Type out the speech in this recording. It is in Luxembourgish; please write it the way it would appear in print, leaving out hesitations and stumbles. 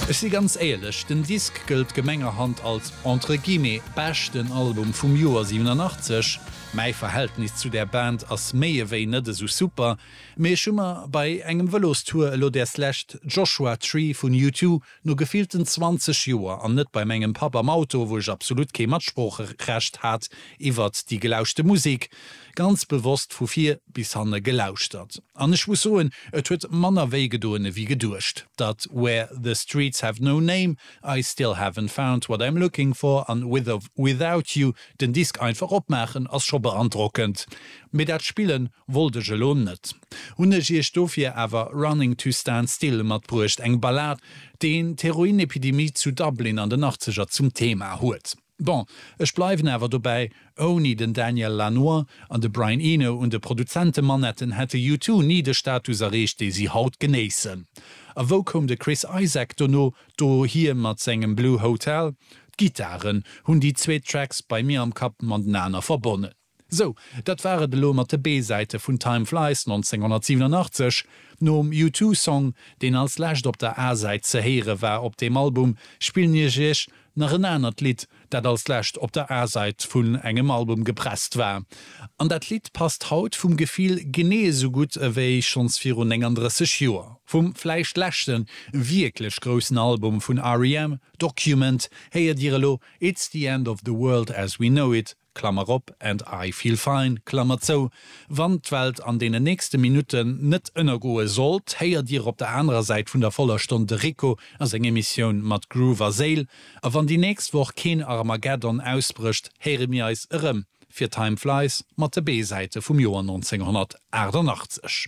Ech si ganz éierlech, den Disk gëllt gemengerhand als entre guillemets beschten Album vum Joer 87. Mäi Verhältnis zu där Band ass méi ewéi net esou super, mee ech hu mer bei engem Vëlostour elo däers lescht Joshua Tree vun U2 No gefillten 20 Joer, an net bei mengem Papp am Auto, wou ech absolut kee Matsproocherecht hat iwwert déi gelauschte Musek, ganz bewosst vu vir bis hanne gelauschtert. An ech muss soen, et huet manner wéi gedoen ewéi geduecht. Datt Where the Streets Have No Name, I Still Haven't Found What I'm Looking For an With or Without You den Disk einfach opmaachen, ass scho beandrockend. Mee dat Spillen wollt ech elo net. Hunn ech iech dofir awer Running to Stand Still matbruecht, eng Ballad, deen d'Heroinepidemie zu Dublin an den Achtzeger zum Thema huet. Bon, ech bleiwen awer dobäi, ouni den Daniel Lanois an de Brian Eno un de Produzentemanetten hätte U2 ni de Status erreecht, dee si haut genéissen. A wou koum de Chris Isaak dono dohier mat sengem Blue Hotel? D'Gittaren hunn déi zweet Tracks bei mir am Kapp matenaner verbonnen. Sou, dat war et elo mat de B-Säite vun Time Flies 1987. Nom U2-Song, deen als lescht op der A-Säit ze héiere war op deem Album, spillen ech iech nach en anert Lidd, dat als lescht op der A-Säit vun engem Album gepresst war. An dat Lidd passt haut vum Gefill genee esou gutt ewéi schonns virun 39 Joer. Vum vläicht leschte wierklech groussen Album vun REM, Document, héiert dir elo It's the End of the World as We Know It, Klammer op, and I feel fine, Klammer zou, Wann d'Welt an deenen nächste Minutten net ënnergoe sollt, héiert Dir op der anerer Säit vun der voller Stonn de Rico a seng Emissioun mat Groove a Séil. A wann déi nächst Woch keen Armageddon ausbrécht, héiere mir eis erëm fir Time Flies mat de B-Säite vum Joer 1988.